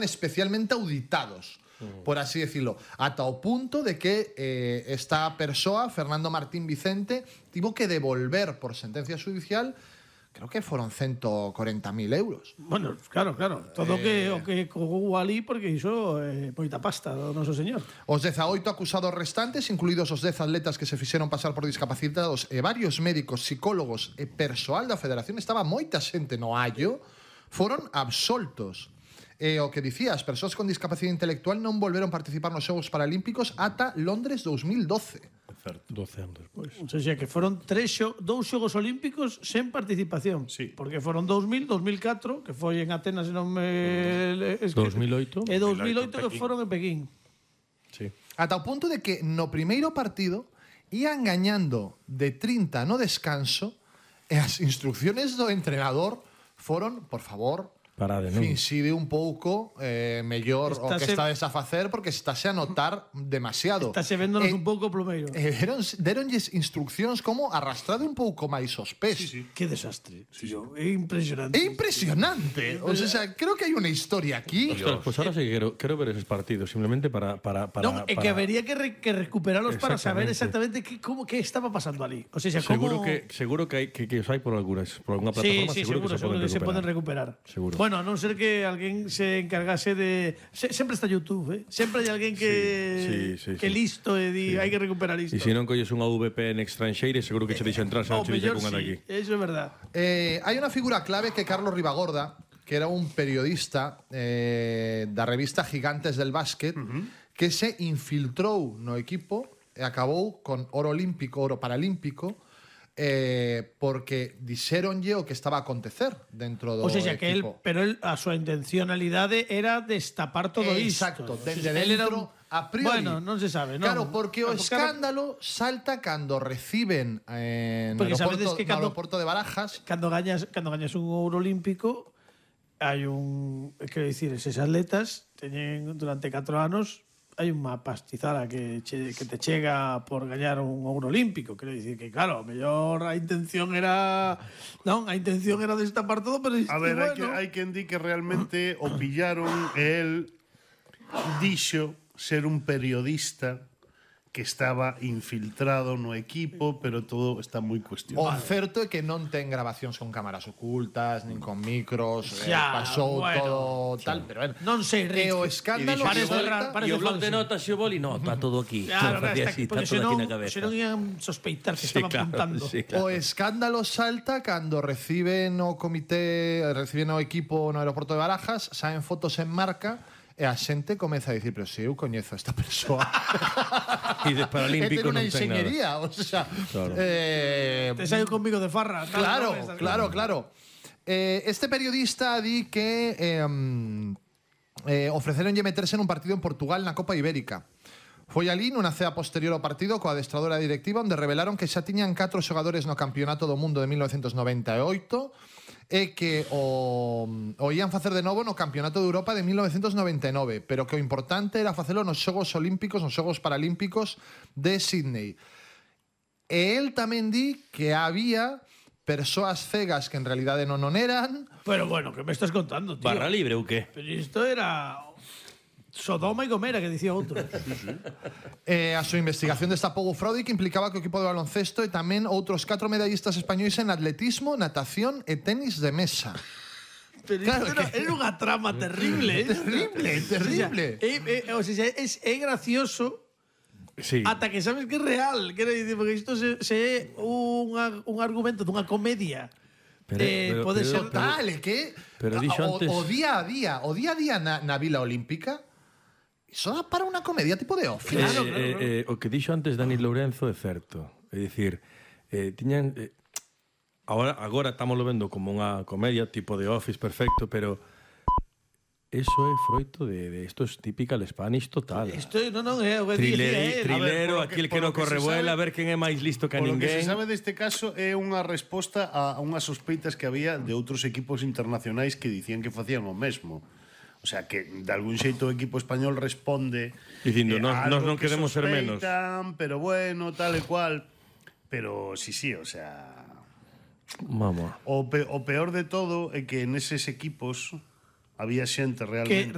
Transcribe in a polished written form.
especialmente auditados, por así decirlo, ata o punto de que esta persoa, Fernando Martín Vicente, tivo que devolver por sentencia judicial, creo que foron 140.000 euros. Bueno, claro, todo o que cogou ali porque iso moita pasta do noso señor. Os 18 acusados restantes, incluídos os 10 atletas que se fixeron pasar por discapacitados e varios médicos, psicólogos e persoal da federación, estaba moita xente no allo, foron absoltos. E o que dicía, as persoas con discapacidade intelectual non volveron participar nos Xogos Paralímpicos ata Londres 2012. 12 anos despois. O sea, que foron dous Xogos Olímpicos sen participación. Sí. Porque foron 2000, 2004, que foi en Atenas, non me... 2008. E 2008 que foron en Pekín. Sí. Ata o punto de que no primeiro partido ían gañando de 30 no descanso e as instrucciones do entrenador foron, por favor, Parade, non? finside un pouco mellor o que estades a facer porque estase a notar demasiado. Estase véndonos un pouco plumeiro. Deronlles instruccións como arrastrade un pouco máis os pés. Sí. Que desastre. Tío, é impresionante. É impresionante. O sea, creo que hai unha historia aquí. Ostras, pues ahora sí que quero ver esos partidos, simplemente para Non, é que habería que recuperarlos para saber exactamente que estaba pasando ali. O sea, seguro que os hai por alguna plataforma, sí, seguro que se poden recuperar. Seguro. Bueno, a non ser que alguén se encargase de... Sempre está YouTube, Sempre hai alguén que listo e di, hai que recuperar isto. E se non colles unha VPN extranxeira, seguro que che deixa entrar, se non che deixa con aquí. Eso é verdad. Hai unha figura clave que Carlos Ribagorda, que era un periodista da revista Gigantes del Básquet, que se infiltrou no equipo e acabou con oro paralímpico, porque dixéronlle o que estaba a acontecer dentro do equipo. Pero a súa intencionalidade era destapar todo isto. Exacto, dende dentro, a priori. Bueno, non se sabe, non? Claro, porque o escándalo salta cando reciben no aeroporto de Barajas. Cando gañas un ouro olímpico, hai quero dicir, eses atletas teñen durante 4 anos hai unha pastizada que te chega por gañar un ouro olímpico. Quero dicir que, claro, mellor a intención era... Non, a intención era destapar todo, pero... A ver, hai quen di que realmente o pillaron e el dixo ser un periodista que estaba infiltrado no equipo, pero todo está moi cuestionado. O certo é que non ten grabacións con cámaras ocultas, nin con micros, pasou todo tal, pero non sei, e o escándalo e o blog de notas e o boli, no, está todo aquí. Claro, se non ian sospeitar que estaba apuntando. O escándalo salta cando reciben o equipo no aeroporto de Barajas, saen fotos en marca e a xente comeza a dicir, pero se eu coñezo a esta persoa. E de paralímpico non ten nada. O sea, claro. Te saio conmigo de farra. Claro. Este periodista di que ofreceronlle meterse nun partido en Portugal na Copa Ibérica. Foi ali nunha cea posterior ao partido coa adestradora directiva onde revelaron que xa tiñan 4 xogadores no Campeonato do Mundo de 1998 e que o ían facer de novo no Campeonato de Europa de 1999, pero que o importante era facelo nos Xogos Olímpicos, nos Xogos Paralímpicos de Sydney. E el tamén di que había persoas cegas que en realidade non eran. Pero bueno, que me estás contando, tío? Barra libre ou que? Pero isto era... Sodoma e Gomera, que dicía outro. A súa investigación destapou o fraude que implicaba que o equipo de baloncesto e tamén outros 4 medallistas españois en atletismo, natación e tenis de mesa. Pero claro, era unha trama terrible. Terrible. O sea, é gracioso. Sí. Ata que sabes que é real. Quero dicir, porque isto se é un argumento dunha comedia. Pode ser tal, que o día a día na Vila Olímpica iso dá para unha comedia tipo de Office. Claro. O que dixo antes Dani Lourenzo é certo. É dicir, tiñan agora estamos vendo como unha comedia tipo de Office perfecto, pero eso é froito de isto é typical Spanish total. Isto non é o que trilero, aquel que non corre vuela, a ver quen é máis listo que ninguén. O que se sabe deste caso é unha resposta a unhas sospeitas que había de outros equipos internacionais que dicían que facían o mesmo. O sea, que de algún xeito o equipo español responde dicindo, nós non queremos ser menos. Pero bueno, tal e cual. Pero sí, o sea... Vamos. O peor de todo é que neses equipos había xente realmente